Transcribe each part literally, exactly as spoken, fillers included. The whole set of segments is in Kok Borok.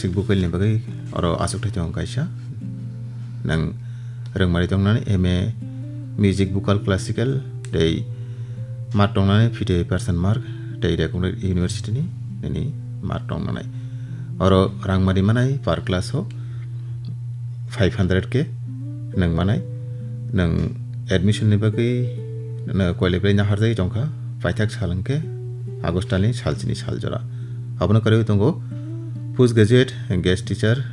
Music vocal ni bagwi oro achukthai tongo kaisa. Nang rwngmani tongnani M A music vocal classical tei mark tongnani fifty percent mark tei Recognized University ni nini mark tongnani. Oro rangmani manai per class o five hundred K nwng manai. Nwng admission ni bagwi no koilai belai naharjagwi tongkha, paithak sal hwnkhe August talni salchini sal jora. Abono karwi tongo Postgraduate Guest Teacher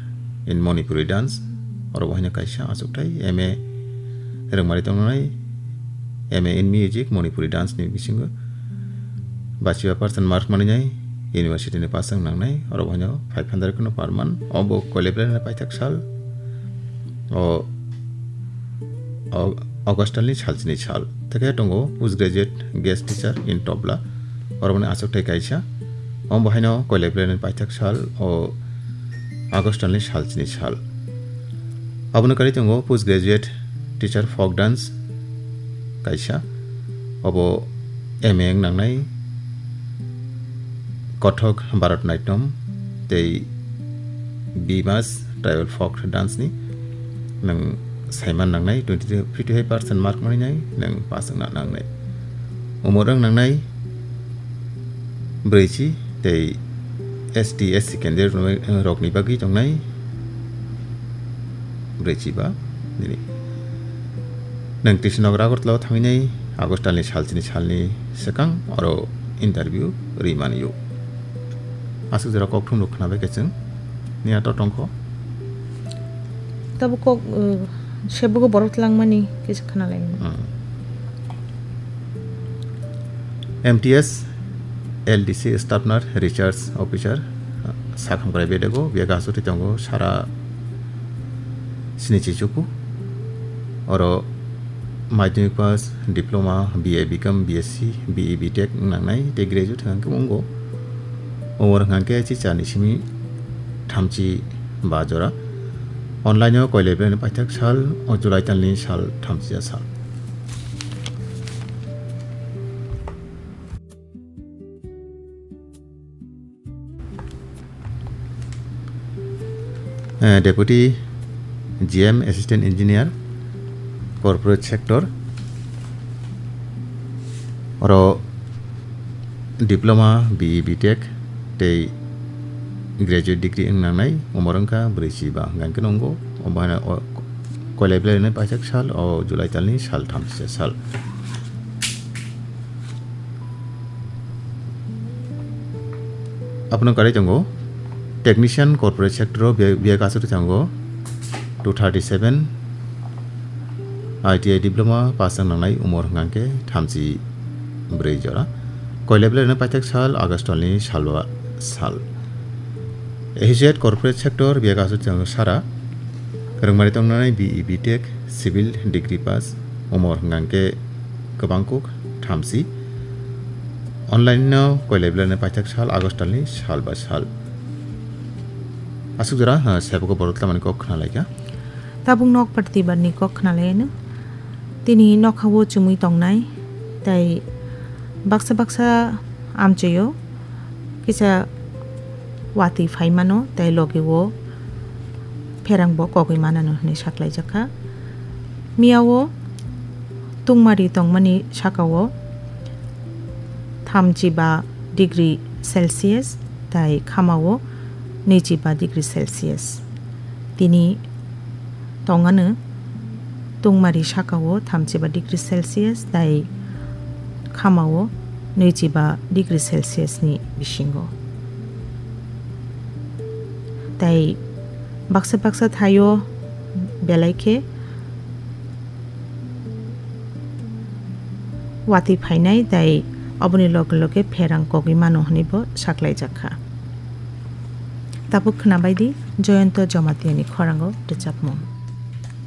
in Manipuri Dance, oro bo haino kaisa achukthai M A rwngmani tongnai, M A in Music Manipuri Dance ni bisingo bachiba percent mark manwi nai university ni pass wng nangnai, oro bo haino five hundred kheno per month, obo koilai belai paithak sal, o, o, August talni salchini sal. Tei khe tongo Postgraduate Guest Teacher in Tabla, oro boni achukthai kaisa. Omo bo haino koilai belai paithak sal, o August talni salchini sal. Abono karwi tongo Postgraduate Teacher Folk Dance kaisa. Obo M A wng nangnai Kathak Bharatanatyam tei Bimas Tribal Folk Dance ni nwng saiman nangnai twenty, fifty five percent mark manwi nai nwng pass wngna nangnai. Umor wng nangnai brwichi tei S T, S C candidate rokni bagwi tongnai brwichi ba nini. Nwng Krishnanagar Agartala o thangwi nai August talni salchini salni swkang oro interview rwi mani o. Aswk jora kokthum rok khna bai khe chwng ni ato tongkho. Tabuk kok, uh, sebugo borok twlangmani kisa khna lai. Hmm. M T S L D C Staff Nurse Research Officer, uh, Sakham Krai Bedego, biya gasu twi tongo sara sini chichuku. Oro Madhyamik pass, diploma, B A, B Com, B S C, B E, B Tech wng nangnai tei graduate hwnkhe wngo. Umor hwnkhe chicha ni simi thamchi ba jora. Online o koilai belai paithak sal, o July talni sal thamchi ya sal. Eh, Deputy G M, Assistant Engineer, Corporate Sector, oro Diploma, B E, B Tech tei Graduate Degree wng nangnai, umor wngkha brwichi ba hwnkhe nungo, omo haino o koilai belai paithak sal, o July talni sal thamchi sal. Abono karwi tongo Technician Corporate Sector o biya, biya kasuri tongo two thirty seven, I T I Diploma pass wng nangnai umor hwnkhe thamchi brwi jora. Koilai belai paithak sal August ni salwa sal. Associate Corporate Sector biya kasuri tongo sara rwngmani tongnai B E, B Tech, Civil Degree pass, umor hwnkhe kwbangkuk thamchi. Online no koilai belai paithak sal August ni sal ba sal. Aswk jora, ha, sebo ko borok tlamani kok khna laikha. Tabuk nok parti barni kok khna lai no. Tini nokha o chumui tongnai, tai baksa baksa amchoi o kisa watwi phai mano, tai logi o pherang bo kogwi manano hwnwi saklai jakha. Miya o tungmari tongmani saka o thamchi ba degree Celsius tai khama o nwichi ba degree Celsius. Tini tongano tungmari saka o thamchi ba degree Celsius tai khama o nwichi ba degree Celsius ni bisingo. Tai baksa baksa thaio belai khe watwi phainai tai oboni loge loge pherang kogwi mano hwnwi bo saklai jakha. Tabuk khna bai di Joyonto Jamatia ni khorang o rwchapmung.